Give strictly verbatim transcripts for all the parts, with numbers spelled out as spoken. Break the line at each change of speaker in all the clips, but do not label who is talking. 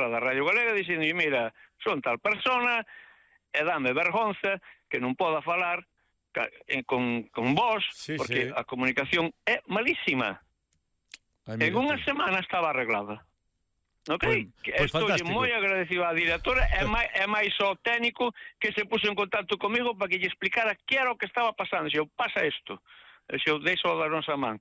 directora da Radio Galega dixendo, mira, son tal persona e dame vergonza que non poda falar con, con vos,
sí,
porque
sí.
a comunicación é malísima.
Ay,
en unha semana estaba arreglada. Ok?
Pues, pues
Estou
fantástico.
moi agradecido á directora e máis, e máis ao técnico que se puso en contacto comigo para que lle explicara que era o que estaba pasando. Se eu pasa isto, se eu deixo da nosa man.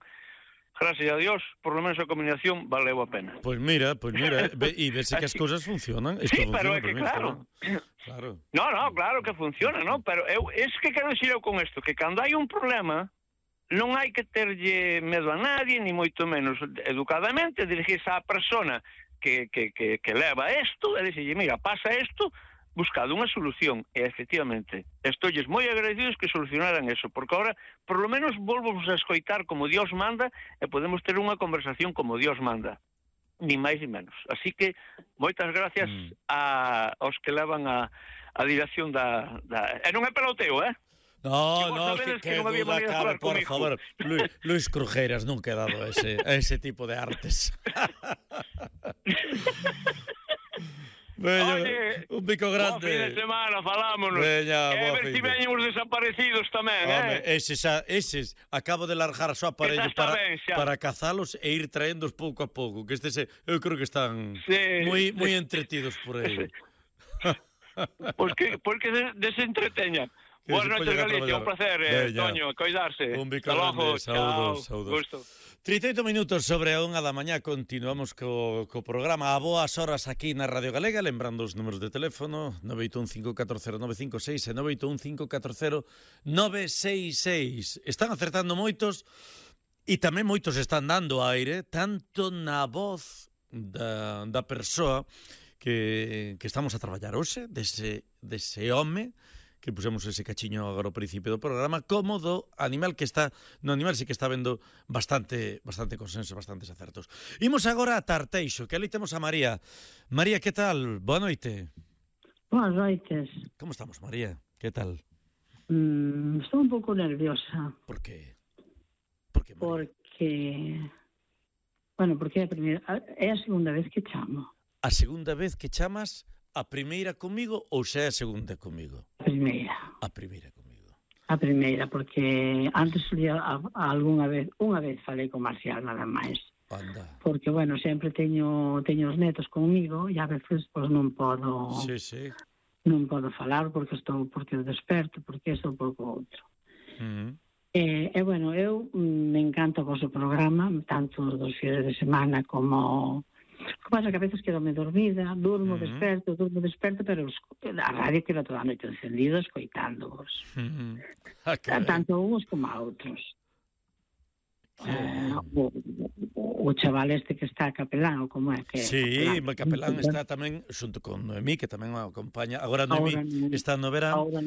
Gracias a Dios, por lo menos a comunicación valeu a pena.
Pues mira, pues mira, e vese que as cousas funcionan. Esto
sí,
funciona,
pero é que
mira,
claro.
claro.
No, no, claro que funciona, ¿no? Pero eu, es que quero dicir eu con isto, que cando hai un problema, non hai que terlle medo a nadie, ni moito menos educadamente, dirigirse á persona que, que, que, que leva isto, e dicirlle, mira, pasa isto, buscado unha solución, e efectivamente, estoilles moi agradecidos que solucionaran eso, porque agora, por lo menos, volvos a escoitar como Dios manda, e podemos ter unha conversación como Dios manda, ni máis ni menos. Así que, moitas gracias mm. a, aos que levan a, a dirección da, da... E non é peloteo, eh?
No, no, que, que, que
non
duda cabe, por comigo. Favor. Luis, Luis Crujeras nunca ha dado ese, ese tipo de artes. Veña,
oye,
un pico grande.
Buen fin de semana, falámonos.
Veña,
e a ver si veñen os desaparecidos tamén,
Home,
eh?
Eses, eses, acabo de largar só aparello para,
ben,
para cazalos e ir traéndoos pouco a pouco, que estes, eu creo que están
sí,
moi
sí.
moi entretidos por aí.
Pois que, por que desentreteñan? Boas noches, Galicia, un placer, eh, Toño, coidarse.
Un bico grande, saúdos, saúdos.
Gusto.
trinta e oito minutos sobre a unha da mañá, continuamos co, co programa a boas horas aquí na Radio Galega, lembrando os números de teléfono nove oito un cinco catro cero nove cinco seis e nove oito un cinco catro cero nove seis seis. Están acertando moitos e tamén moitos están dando aire, tanto na voz da, da persoa que, que estamos a traballar hoxe, dese, dese home que pusemos ese cachiño agora ao principio do programa, como do animal que está, no animal sí que está vendo bastante bastante consenso, bastantes acertos. Imos agora a Tarteixo, que ali temos a María. María, que tal? Boa noite.
Boas noites.
Como estamos, María? Que tal?
Mm, estou un pouco nerviosa.
Por qué? Por qué, María?
Porque, bueno, porque é a primeira, é a segunda vez que chamo.
A segunda vez que chamas? A primeira comigo ou xa é a segunda comigo?
A primeira.
A primeira comigo.
A primeira, porque antes solía a, a algunha vez, unha vez falei con Marcial nada máis.
Anda.
Porque, bueno, sempre teño teño os netos comigo e a veces pois non podo
sí, sí.
non podo falar porque estou porque desperto, porque estou por outro.
Uh-huh.
E, e, bueno, eu me encanta o vosso programa, tanto dos fines de semana como... Que pasa que a veces quedo me dormida, durmo, uh-huh. desperto, durmo, desperto, pero a radio queda toda a noite encendido escoitándoos. Uh-huh. Ah, tanto a uns como a outros. Uh, o, o chaval este que está capelán, ou como é que...
Sí, capelán, capelán está tamén xunto con Noemí, que tamén o acompaña. Agora Noemí ahora, está no verán.
Ahora,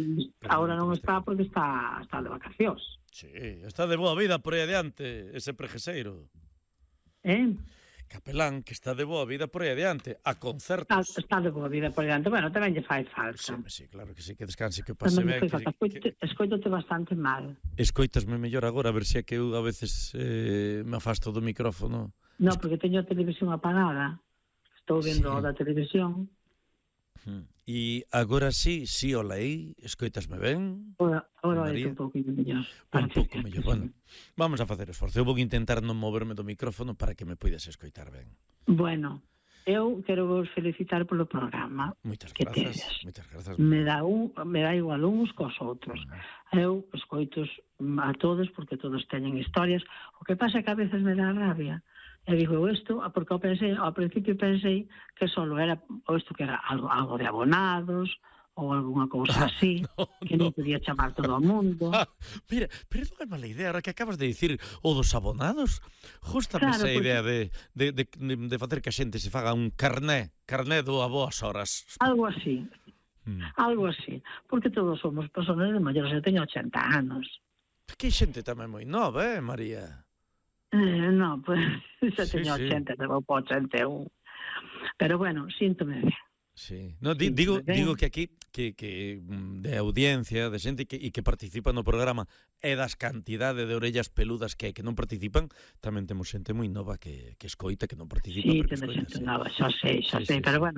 ahora non está porque está, está de vacacións.
Sí, está de boa vida por aí adiante, ese prejeseiro.
Eh?
Capelán, que está de boa vida por aí adiante, a concertos.
Está, está de boa vida por aí adiante, bueno, tamén lle fai falta.
Sí, sí, claro que sí, que descanse, que pase ben.
Que... Escoitote bastante mal.
Escoitasme mellor agora, a ver se é que eu a veces eh, me afasto do micrófono.
No, porque teño a televisión apagada, estou vendo sí. da televisión.
E agora sí, sí o leí, escoitasme ben?
Agora, agora vai un pouco mellor.
Un pouco mellor, bueno. Vamos a facer esforzo. Eu vou intentar non moverme do micrófono para que me poidas escoitar ben.
Bueno, eu quero vos felicitar polo programa.
Moitas grazas. Moitas grazas.
Me dá un, me dá igual uns cos outros. Eu escoitos a todos porque todos teñen historias. O que pasa é que a veces me dá rabia. E digo isto, porque eu pensei, ao principio pensei que só era, ou isto que era algo, algo de abonados, ou alguna cousa así, no, que non no. podía chamar todo o mundo.
Ah, mira, pero non é mala idea, ahora que acabas de dicir o dos abonados, justamente claro, esa pues, idea de, de, de, de facer que a xente se faga un carné, carné do a boas horas.
Algo así, hmm. algo así, porque todos somos personas de maiores, eu teño ochenta anos.
Que xente tamén moi nova, eh, María?
Eh, no, pues, xa
sí,
teño
sí.
ochenta, te vou por ochenta e un. Pero bueno, síntome ben.
Sí. No, di, digo, digo que aquí que, que de audiencia, de xente que, e que participa no programa e das cantidade de orellas peludas que hai que non participan, tamén temos xente moi nova que, que escoita, que non participa.
Sí, temos xente nova, xa sei, xa sí, sei, sí, pero sí. bueno,